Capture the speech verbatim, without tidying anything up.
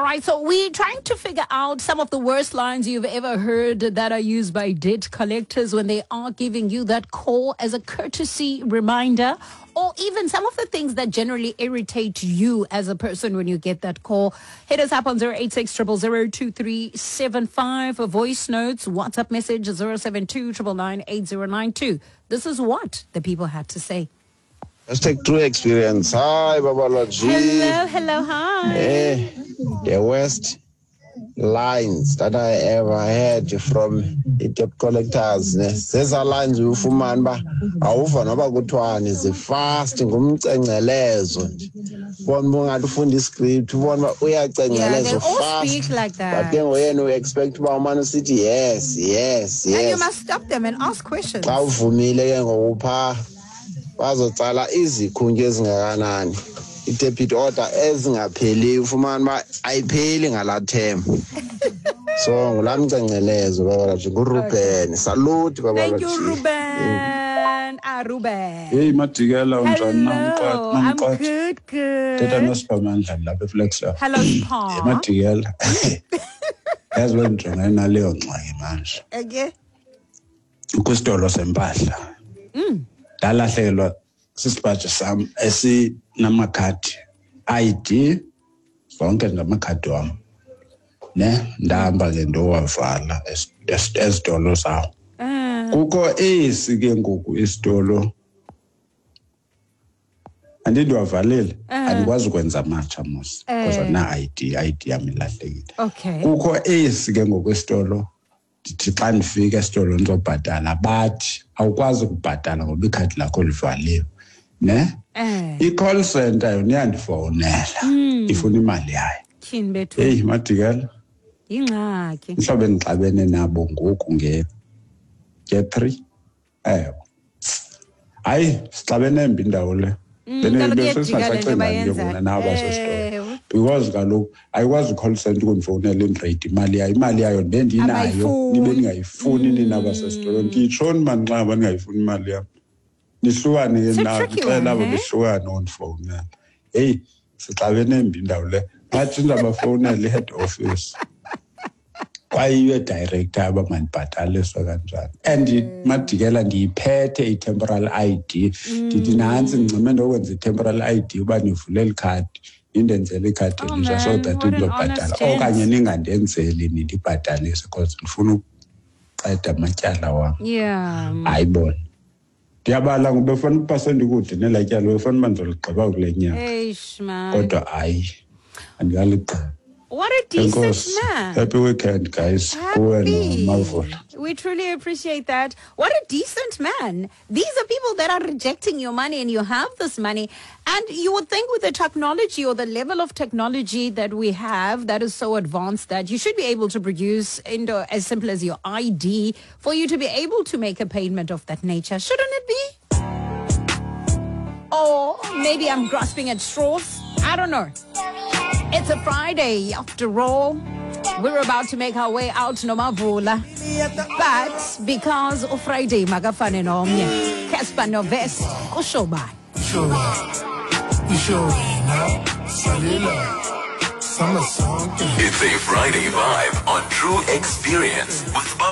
right, so we're trying to figure out some of the worst lines you've ever heard that are used by debt collectors when they are giving you that call as a courtesy reminder, or even some of the things that generally irritate you as a person when you get that call. Hit us up on zero eight six, triple zero, two three seven five for voice notes, WhatsApp message zero seven two, triple nine, eight zero nine two. This is what the people had to say. Let's take true experience. Hi, Babalwa G. Hello, hello, hi. Eh, the worst lines that I ever heard from the debt collectors. Ne? Zeza lines ufumana uba awuva noba kuthiwani zifast ngumcengcelezo nje. Ubona uba ungathi ufunda iscript, ubona uba uyacengceleza Yeah, they all fast. speak like that. But ke ngoyena u-expect uba umane usithi yes, yes, And you yes. must stop them and ask questions. Xa uvumile ke ngoku phaa bazotsala izikhuntyu ezingakanani, i-debit order ezingapheliyo, ufumane uba ayipheli ngalaa term. So ngulaa mcengcelezo, Babalwa G. NguRuben. Salute, Babalwa Thank you, G. Ruben. Ah, Ruben. Hey, Madikela, unjani? Hello. I'm Namqatha. good, Thetha good. noSiphamandla lapha eFlagstaff. Hello, Hey, Sipha. Madikela. Yazi bendijongene naleyo ngxaki manje. Okay. Kwisitolo sempahla. Ndalahlekelwa sisipaji sam esinamakhadi I D, zonke nje amakhadi wam. Ne, ndahamba ke ndowavala es-, es-, ezitolo zawo. Uh. Kukho esi ke ngoku isitolo. Andindiwavalile, Uh. andikwazi ukwenza amatsha mos, because Eh. andina I D, I D yam ilahlekile. Okay. Kukho esi ke ngoku isitolo, ndithi xa ndifika esitolo ndizobhatala, bathi awukwazi ukubhatala ngoba ikhadi lakho livaliwe, ne? Eh. I-call center yona iyandifowunela, Mm. ifuna imali yayo. Tyhini bethu. Heyi, Madikela. Yingxaki. Mhlawumbe ndixabene nabo ngoku nge-, nge-three. Ewe. Hayi, sixabene mbi indawo le. Mm, Bene- kaloku bese iyajika le nto singasacingani ke bayenzayo. ngoku nabo basesitolo. Ewe. Because kaloku ayikwazi i-call center ukundifowunela indireyiti imali yayo. Imali yayo ndibe ndinayo, Abayifuni. nibe ndingayifuni nina basesitolo. Mm. Nditshoni mani xa ngaba ndingayifuni imali yam? Nihlukane ke It's a nabo, tricky ndixela one, abo eh? behlukane undifowunela. Heyi, sixabene mbi indawo le. Bathi ndizabafowunela i-head office. Kwaye iye director aba mandibhataliswe kanjani. And Mm. Madikela ndiyiphethe i-temporal I D. Ndithi Mm. nantsi ndincame ndokwenza i-temporal I D uba nivule eli khadi, nindenzele ikhadi Oh, elitsha so man, that what an ndizobhatala. honest gent. Okanye ningandenzeli nindibhatalise because ndifuna ukuqeda amatyala wam. Yeah. Hayi bona. Ndiyabala ngoba befana ukuba sendikude nelaa tyala, befana uba ndizoligqiba kule nyanga. Eish, man. Kodwa hayi, andikaligqibi. What a decent Enkosi. man. Happy weekend, guys. Kuwe Happy. noMavula. We truly appreciate that. What a decent man. These are people that are rejecting your money, and you have this money. And you would think with the technology or the level of technology that we have that is so advanced that you should be able to produce into as simple as your I D for you to be able to make a payment of that nature. Shouldn't it be? Or maybe I'm grasping at straws. I don't know. It's a Friday after all. We're about to make our way out Nomavula. But because of Friday, makafane nomnye. Cassper Nyovest, kusho bani? It's a Friday vibe on True Experience with Baba.